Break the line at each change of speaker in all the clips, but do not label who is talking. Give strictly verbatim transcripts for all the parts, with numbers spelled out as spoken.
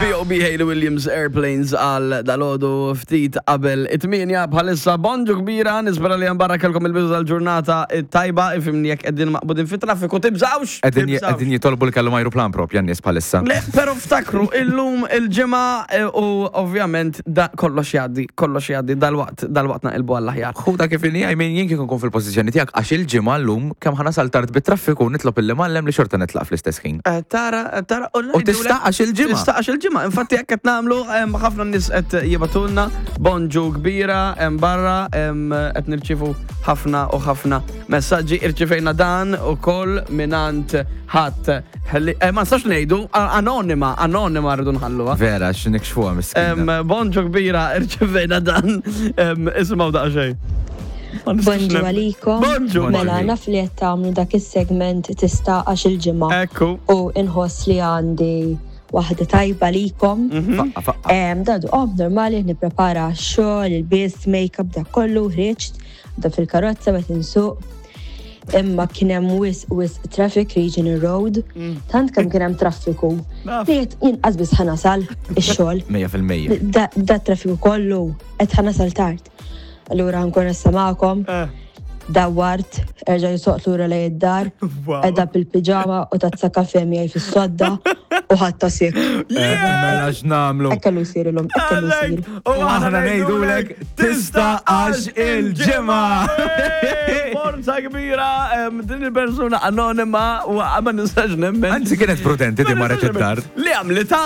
B O B. Hayley Williams, Airplanes, għal dalgħodu ftit qabel it-tmienja bħalissa. Bonġu kbira, nispera li barra kellkom il-bidu tal-ġurnata tajba, ifimni jekk qegħdin maqbudin fit traffiku, tibżawx!
Qegħdin
Tibżawx.
Qegħdin jitolbu li kellhom ajruplan propja n-nies bħalissa.
Le, pero ftakru, illum il-ġimgħa eh, u ovvjament da kollox jgħaddi, kollox jgħaddi dal-waqt, dal-waqt naqilbu għall-aħjar.
Ħuda kif inhi, I mean, jien kieku nkun fil-pożizzjoni tiegħek, għax il-ġimgħa llum kemm ħa nasal tard bit-traffiku, nitlob il-mallem li xorta nitlaq fl-istess ħin.
Eh, Tara, tara,
U tista' għax il-ġimgħa.
Tista' għax il-ġimgħa. Infatti jekk qed nagħmlu hemm ħafna nies qed jibagħtulna bonġu kbira hemm barra, hemm qed nirċivu ħafna u ħafna messaġġi. Irċivejna dan ukoll mingħand ħadd. Ħalli- eh, Ma nistax ngħidu anonima, anonima rridu nħalluha.
Vera, x'nikxfuha miskina.
Em, Bonġu kbira, irċivejna dan. Em, Isimgħu daqsxejn. Ma nistax
Bonġu
nemmen.
għalikom.
Bonġu.
Mela, naf li qed tagħmlu dak is-segment "Tista' għax il-ġimgħa".
Ekku.
U inħoss li għandi waħda tajba likom.
Faqqa, faqqa.
Em, Dadu, oh, normali, nipprepara x-xogħol, il-bis, make-up, dak kollu, ħriġt, da fil-karozza bet insuq. Imma kien hemm wisq wisq traffic Regional Road, tant kemm kien hemm traffiku.
Naf.
Li qed jinqas biss ħa nasal ix-xogħol.
mija fil-mija.
Da, da traffiku kollu qed ħa nasal tard. Allura nkun issa magħkom.
Eh.
Dawwart, erġa' soqt lura lejn id-dar,
Wow.
edha bil-pijama u tazza kafe miegħi fis-sodda u ħatta sik.
Mela x'nagħmlu?
Hekk kellu jsir illum, hekk kellu jsir.
U
aħna ngħidulek, tista' għax il-ġimgħa.
Forza kbira, em, din il-persuna anonima u ma nistax nemmen.
Anzi, kienet prudenti di marret id-dar.
Li għamlita,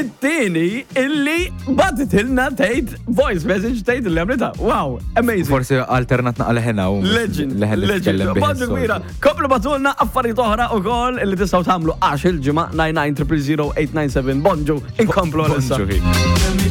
it-tieni illi bagħtitilna tgħid voice message tgħid li għamlita. Wow, amazing.
Forsi alternat naqra leħena u
Legend,
leħen li
legend.
tkellem bih
Bonġu
is-soltu.
kbira. Komplu ibagħtulna affarijiet oħra u koll illi tistgħu tagħmlu għax il-ġimgħa nine nine zero zero eight nine seven. Bonġu, inkomplu għalissa.
Bonġu.